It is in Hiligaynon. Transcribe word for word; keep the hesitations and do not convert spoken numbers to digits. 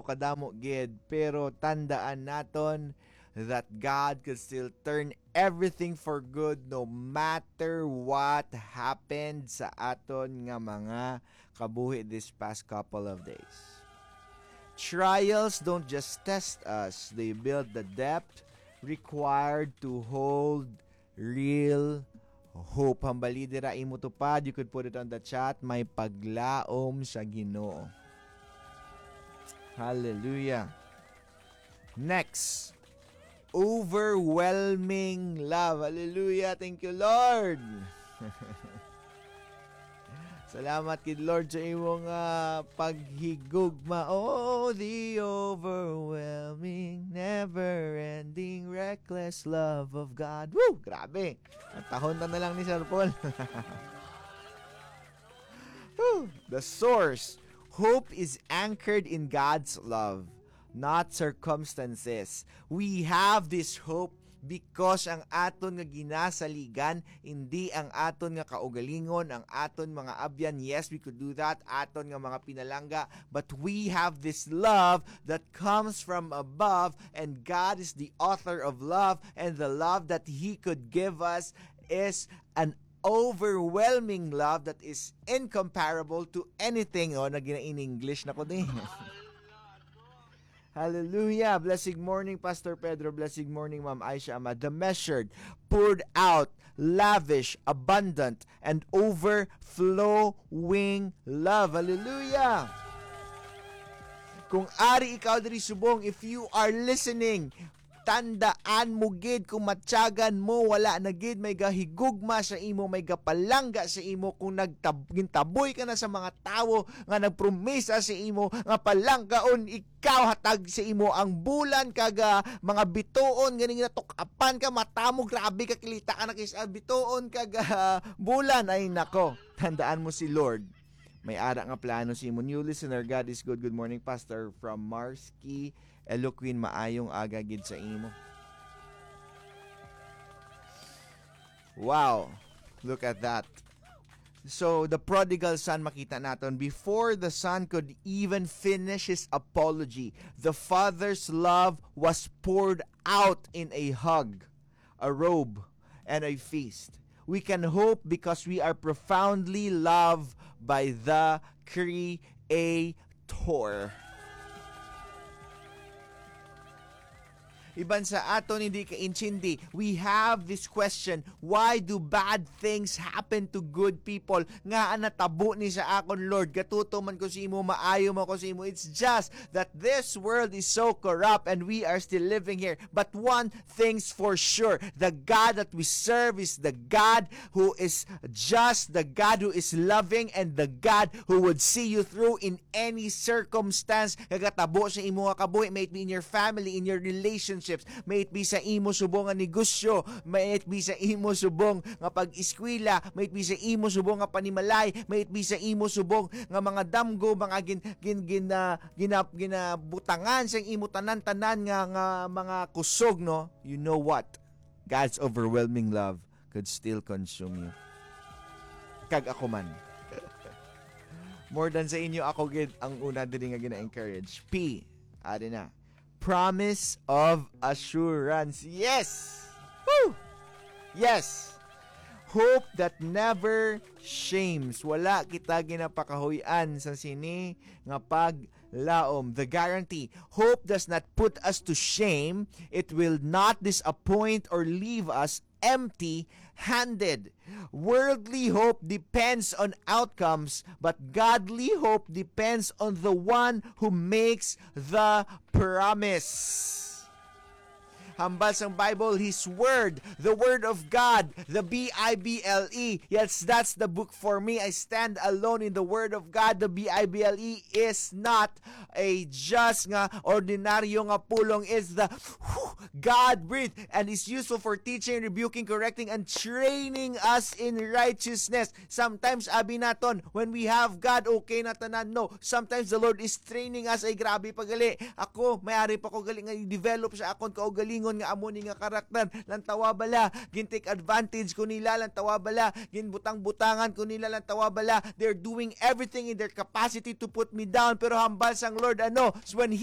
kadamo gid, pero tandaan naton that God could still turn everything for good no matter what happened sa aton nga mga kabuhi this past couple of days. Trials don't just test us, they build the depth required to hold real hope. Hambali dira imo tupad. You could put it on the chat. May paglaom sa Ginoo. Hallelujah. Next, overwhelming love. Hallelujah. Thank you, Lord. Salamat kid Lord sa imong ah, paghigugma. Oh, the overwhelming, never-ending, reckless love of God. Woo! Grabe. Ang tahon na na lang ni Sir Paul. Woo! The source. Hope is anchored in God's love, not circumstances. We have this hope because ang aton nga ginasaligan, hindi ang aton nga kaugalingon, ang aton mga abyan. Yes, we could do that, aton nga mga pinalangga, but we have this love that comes from above, and God is the author of love, and the love that He could give us is an overwhelming love that is incomparable to anything. Oh, naging in English na ko din. Hallelujah. Blessed morning, Pastor Pedro. Blessed morning, Ma'am Aisha Ahmad. The measured, poured out, lavish, abundant, and overflowing love. Hallelujah. Kung ari ikaw diri subong, if you are listening, tandaan mo gid, kung matyagan mo, wala na gid may gahigugma sa imo, may gapalangga sa imo. Kung nagtab- gintaboy ka na sa mga tawo nga nagpromisa sa imo nga palanggaon ikaw, hatag sa imo ang bulan kag ah, mga bituon, ganing natukapan ka, mata mo, grabe ka, kilita ka na kis ah, bituon kag ah, bulan. Ay nako, tandaan mo si Lord. May ara nga plano sa imo. New listener, God is good. Good morning, Pastor, from Marski, Eloquin. Maayong aga gid sa imo. Wow. Look at that. So, the prodigal son, makita naton, before the son could even finish his apology, the father's love was poured out in a hug, a robe, and a feast. We can hope because we are profoundly loved by the Creator. Iban sa aton hindi kaintindi, we have this question, why do bad things happen to good people? Nga ang natabo ni sa akon, Lord? Gatuto man ko sa imo, maayo man ko sa imo. It's just that this world is so corrupt and we are still living here. But one thing's for sure, the God that we serve is the God who is just, the God who is loving, and the God who would see you through in any circumstance nga gatabo sa imo nga kabuhi, may it be in your family, in your relationships, may it be sa imo subong nga negosyo, may it be sa imo subong nga pag-eskwela, may it be sa imo subong nga panimalay, may it be sa imo subong nga mga damgo, mga gin, gin, gin, ah, ginap-, ginabutangan sa imo tanan-tanan nga, nga mga kusog, no? You know what? God's overwhelming love could still consume you. Kag ako man. More than sa inyo, ako gid ang una diri nga gina-encourage. P, ari na. Promise of assurance. Yes! Woo! Yes! Hope that never shames. Wala kita ginapakahuy-an sa sini nga paglaom. The guarantee. Hope does not put us to shame. It will not disappoint or leave us empty-handed. Worldly hope depends on outcomes, but godly hope depends on the one who makes the promise. Hambal sang Bible, His Word, the Word of God, the B I B L E. Yes, that's the book for me. I stand alone in the Word of God. The B I B L E is not a just nga ordinaryo nga pulong. Is the God breathed and is useful for teaching, rebuking, correcting, and training us in righteousness. Sometimes, abi naton, when we have God, okay na tanan. No, sometimes the Lord is training us. Ay, grabe pa gali. Ako, may ari pa ko gali nga i-develop sa akon kaugalingon. nga amo ni nga karakter, lantawa bala gin take advantage ko nila, lantawa bala ginbutang-butangan ko nila, lantawa bala they're doing everything in their capacity to put me down. Pero hambal sang Lord, ano, when He